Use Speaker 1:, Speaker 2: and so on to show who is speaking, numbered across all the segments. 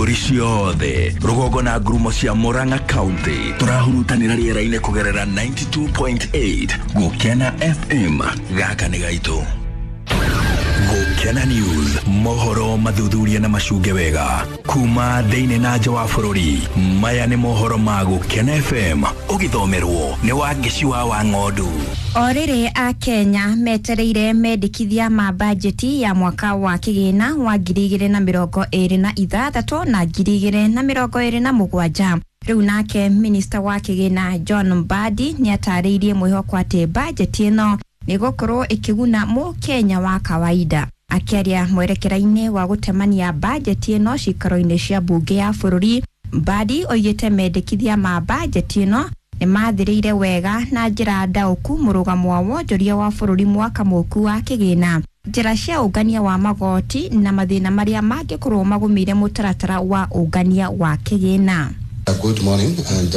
Speaker 1: Ithũngũri ciothe rũgongo na ngurumo cia Murang'a County tũrahurutanĩra rĩera-inĩ kũgerera 92.8 Gũkena FM. Gaka nĩ gaitũ. Gũkena News, mohoro mathuthuria na macunge wega kuma thĩinĩ na nja wa bũrũri. Maya nĩ mohoro ma Gũkena FM, ũgĩthomerwo nĩ Wangeci wa Wang'ondu.
Speaker 2: O rĩrĩ a Kenya metereire mendekithia ma bajeti ya mwaka wa kĩgĩna wa 2026 na 2027. Rĩu nake minista wa kĩgĩna John Mbadi nĩatarĩirie mwĩhoko atĩ bajeti ĩno nĩgũkorwo ĩkĩguna mũkenya wa kawaida. Akĩaria mwerekera-inĩ wa gũtemania bajeti ĩno cikaro-inĩ cia mbunge ya bũrũri, Mbadi oigĩte mendekithia ma bajeti ĩno nĩmathĩrĩire wega na njĩra ndaũku mũrũgamo wa wonjoria wa bũrũri mwaka mũku wa kĩgĩna, njĩra cia ũngania wa magoti na mathĩna marĩa mangĩkorwo magũmĩire mũtaratara wa ũngania wa kĩgĩna.
Speaker 3: Good morning, and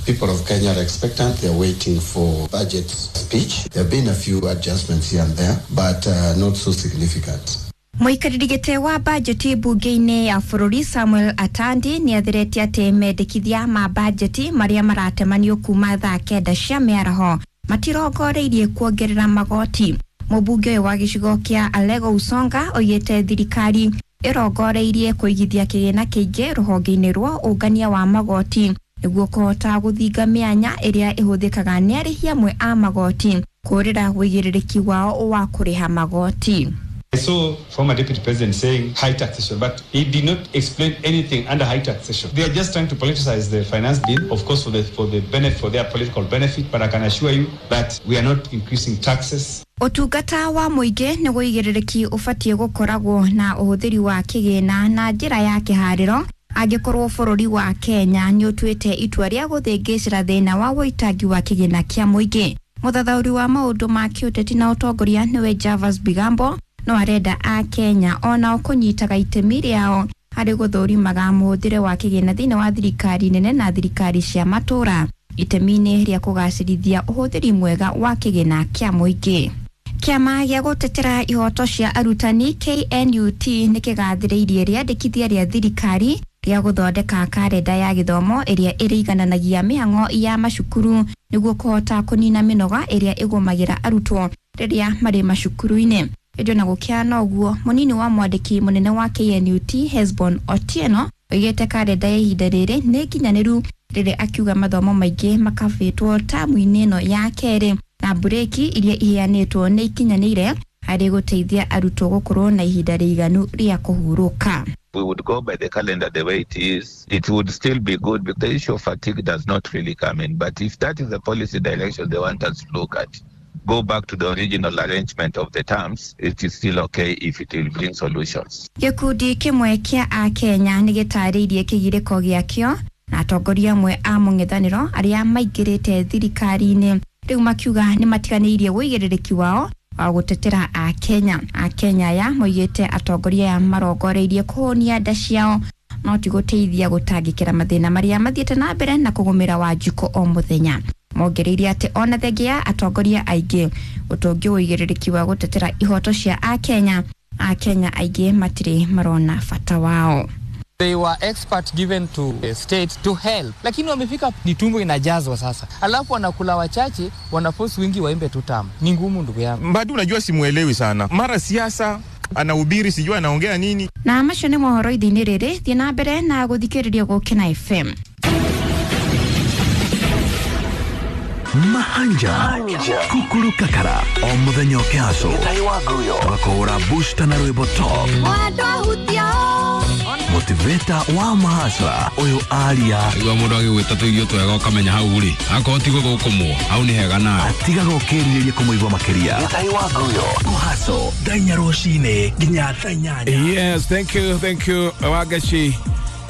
Speaker 3: people of Kenya are expectant. They are waiting for budget speech. There have been a few adjustments here and there, but not so significant.
Speaker 2: Mũikarĩri gĩtĩ wa bajeti mbunge-inĩ ya bũrũri Samuel Atandi nĩatheretie atĩ mendekithia ma bajeti marĩa maratemanio kuma thaa 9 cia mĩaraho matirongoreirie kuongerera magoti. Mũmbunge ũyũ wa gĩcigo kĩa Alego Usonga oigĩte thirikari ĩrongoreirie kũigithia kĩgĩna kĩingĩ rũhonge-inĩ rwa ũngania wa magoti nĩguo kũhota gũthinga mĩanya ĩrĩa ĩhũthĩkaga nĩ arĩhi amwe a magoti kũrĩra ũigĩrĩrĩki wao wa kũrĩha magoti.
Speaker 4: I saw former deputy president saying high taxation, but he did not explain anything under high taxation. They are just trying to politicize the finance bill, of course, for their political benefit. But I can assure you that we are not increasing taxes.
Speaker 2: Ũtungata wa mũingĩ nĩ ũigĩrĩrĩki ũbatiĩ gũkoragwo na ũhũthĩri wa kĩgĩna na njĩra ya kĩharĩro angĩkorwo bũrũri wa Kenya nĩ ũtuĩte itua rĩa gũthĩngĩcĩra thĩna wa ũitangi wa kĩgĩna kĩa mũingĩ. Mũthathaũri wa maũndũ ma kĩũteti na ũtongoria nĩwe Javas Bigambo no arenda a Kenya onao kũnyitaga itemi rĩao harĩ gũthũrimaga mũhũthĩre wa kĩgĩna thĩinĩ wa thirikari nene na thirikari cia matũra itemi-inĩ rĩa kũgacĩrithia ũhũthĩri mwega wa kĩgĩna kĩa mũingĩ. Kĩama gĩa gũtetera ihoto cia arutani KNUT nĩ kĩgathĩrĩirie rĩandĩkithia rĩa thirikari rĩa gũthondeka karenda ya gĩthomo ĩrĩa ĩrĩigananagia mĩhang'o ya macukuru nĩguo kũhota kũnina mĩnoga ĩrĩa ĩgũmagĩra arutwo rĩrĩa marĩ macukuru-inĩ. Ĩndĩ ona gũkĩhana ũguo, mũnini wa mwandĩki mũnene wa KNUT Hesbon Otieno oigĩte karenda ya ihinda rĩrĩ nĩ nginyanĩru rĩrĩa akiuga mathomo maingĩ makabĩtwo tamu-inĩ ĩno ya kerĩ na mburĩki iria iheanĩtwo nĩ ikinyanĩire harĩ gũteithia arutwo gũkorwo na ihinda rĩiganu rĩa kũhurũka.
Speaker 5: We would go by the calendar the way it is. It would still be good because the issue of fatigue does not really come in. But if that is the policy direction they want us to look at, go back to the original arrangement of the terms, it is still okay if it will bring solutions.
Speaker 2: Gĩkundi kĩmwe kĩa Akenya nĩ gĩtarĩirie kĩgirĩko gĩakĩo na atongoria amwe a mũng'ethanĩro arĩa maingĩrĩte thirikari-inĩ rĩu makiuga nĩ matiganĩirie ũigĩrĩrĩki wao wa gũtetera Akenya. Akenya aya moigĩte atongoria aya marongoreirie kũhũnia nda ciao no ti gũteithia gũtangĩkĩra mathĩna marĩa mathiĩte na mbere na kũgũmĩra Wanjikũ o mũthenya. Mongereire atĩ ona thengia ya atongoria aingĩ ũtũngĩ ũigĩrĩrĩki wa gũtetera ihoto cia Akenya, Akenya aingĩ matirĩ marona bata wao.
Speaker 6: They were expert given to the state to help, lakini wamefika ni tumbo inajazwa sasa, alafu wanakula wachache, wanaforce wingi waimbe tu tamu. Ni ngumu ndugu yangu.
Speaker 7: Mbadi unajua simuelewi sana, mara siasa anahubiri sijui anaongea nini.
Speaker 2: Na macio nĩ mohoro ithe-inĩ rĩrĩ, thiĩ na mbere na gũthikĩrĩria Gũkena FM.
Speaker 1: Mahanja Kukuru Kakara o muthenya ũkĩhaco twakũhũra booster na rwĩmbo top motivator wa mahasra ũyũ aria
Speaker 8: igua mũndũ agĩgwĩta tũirio twega ũkamenya hau rĩ akorwo ti gũthũkũmwo hau nĩ hega nawe
Speaker 1: atigaga ũkĩrirĩria kũmũigua makĩria kũhaco thaa inya rũcinĩ nginya thaa inyanya.
Speaker 8: Yes, thank you, thank you Wangeci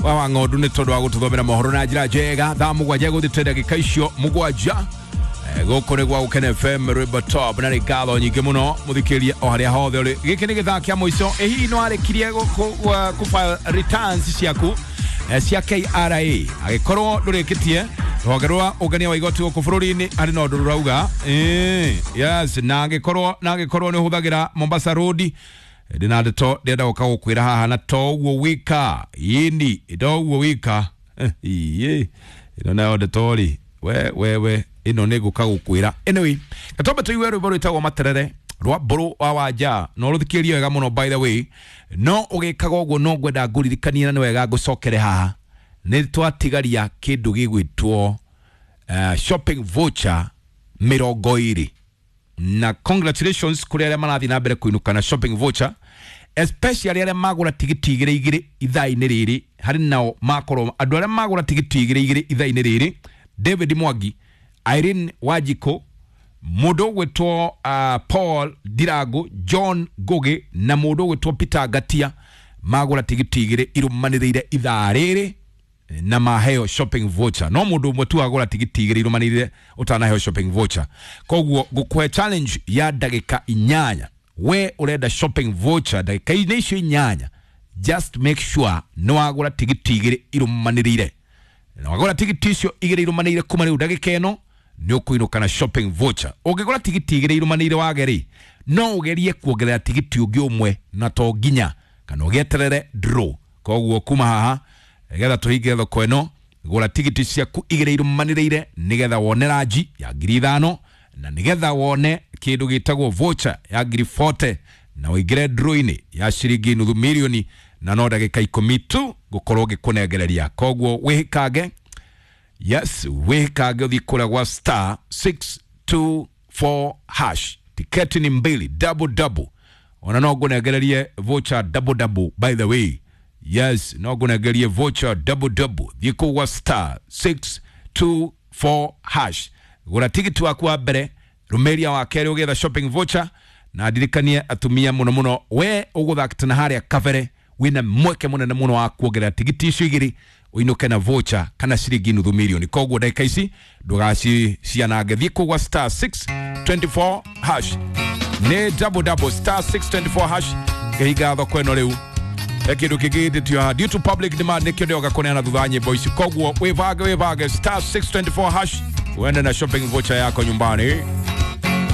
Speaker 8: wa Wang'ondu nĩ tondũ wa gũtũthomera mohoro na njĩra njega. Thaa 7 gũthĩte ndagĩka icio 7. Gũkũ nĩ gwa Gũkena FM rwĩmbo top na nĩ ngatho nyingĩ mũno mũthikĩria o harĩa hothe ũrĩ. Gĩkĩ nĩ gĩthaa kĩa mũico. Ĩ hihi no warĩkirie kũ file returns ciaku cia KRA? Angĩkorwo ndũrĩkĩtie, rũhonge rwa ũngania wa igoti gũkũ bũrũri-inĩ harĩ na ũndũ rũrauga. Yes, na angĩkorwo nĩ ũhũthagĩra Mombasa Road, Ndĩna ndeto ndĩrenda gũka gũkwĩra haha, na to ũguo wika yini to ũguo wika iĩ ĩno nayo ndeto rĩ, we we we, ĩno nĩ ngũka gũkwĩra. Anyway, gatombe tũigue rwĩmbo rwĩtagwo Materere rwa Mbũrũ wa Wanja, no rũthikĩrĩrie wega mũno. By the way, no ũgĩkaga ũguo no ngwenda ngũririkanie, na nĩ wega ngũcokere haha, nĩ twatigaria kĩndũ gĩgwĩtwo shopping voucher 20, na congratulations kũrĩ arĩa marathiĩ na mbere kũinũka na shopping voucher, especially arĩa magũra tigiti igĩrĩ igĩrĩ ithaa-inĩ rĩrĩ. Harĩ nao makorwo andũ arĩa magũra tigiti igĩrĩ igĩrĩ ithaa-inĩ rĩrĩ: David Mwangi, Irene Wanjikũ, mũndũ ũgwĩtwo Paul Ndirangu, John Ngugi na mũndũ ũgwĩtwo Peter Ngatia, magũra tigiti igĩrĩ irũmanĩrĩire ithaa rĩrĩ na maheo shopping voucher. No mũndũ ũmwe tu agũra tigiti igĩrĩ irũmanĩrĩire ũtanaheo shopping voucher. Koguo ngũkũhe challenge ya ndagĩka 8. We ũrenda shopping voucher, ndagĩka-inĩ icio 8, just make sure nĩ wagũra tigiti igĩrĩ irũmanĩrĩire. Na wagũra tigiti icio igĩrĩ irũmanĩrĩire kuma rĩu ndagĩka ĩno, nĩ ũkũinũka na shopping voucher. Ũngĩgũra tigiti igĩrĩ irũmanĩrĩire wage rĩ, no ũgerie kuongerera tigiti ũngĩ ũmwe, na to nginya kana ũgĩeterere draw. Koguo kuma haha nĩgetha tũhinge thoko ĩno, gũra tigiti ciaku igĩrĩ irũmanĩrĩire nĩgetha wone ranji ya 5,000, na nĩgetha wone kĩndũ gĩtagwo voucher ya 40,000, na ũingĩre draw-inĩ ya ciringi 500,000, na no ndagĩka 10 tu ngũkorwo ngĩkũnengereria. Koguo wĩhĩkange, yes, wĩhĩkange ũthiĩ kũrĩa gwa star 624 hash. Tiketi ni mbili, double double. Ona no ngũnengererie voucher double double, by the way. Yes, no ngũnengerie voucher double double. Thiĩ kũu gwa star 624 hash, gũra tigiti waku wa mbere, rũmĩria wa kerĩ ũgĩetha shopping voucher. Na ndirikanie atumia mũno mũno, we ũgũthakĩte na harĩa kabere, wĩna mweke mũnene mũno wa kuongerera tigiti icio igĩrĩ ũinũke na voucher kana ciringi 500,000. Koguo ndagĩka ici ndũgacicianange, thiĩ kũu gwa star 624 hash. Nĩ double double, star 624 hash. Ngĩhinga thoko ĩno rĩu, he kĩndũ kĩngĩ gĩtĩtio haha due to public demand, nĩkĩo ndĩroka kũneana thutha wa nyĩmbo ici. Koguo wĩbange, wĩbange, star 624 hash, uende na shopping voucher yako nyumbani.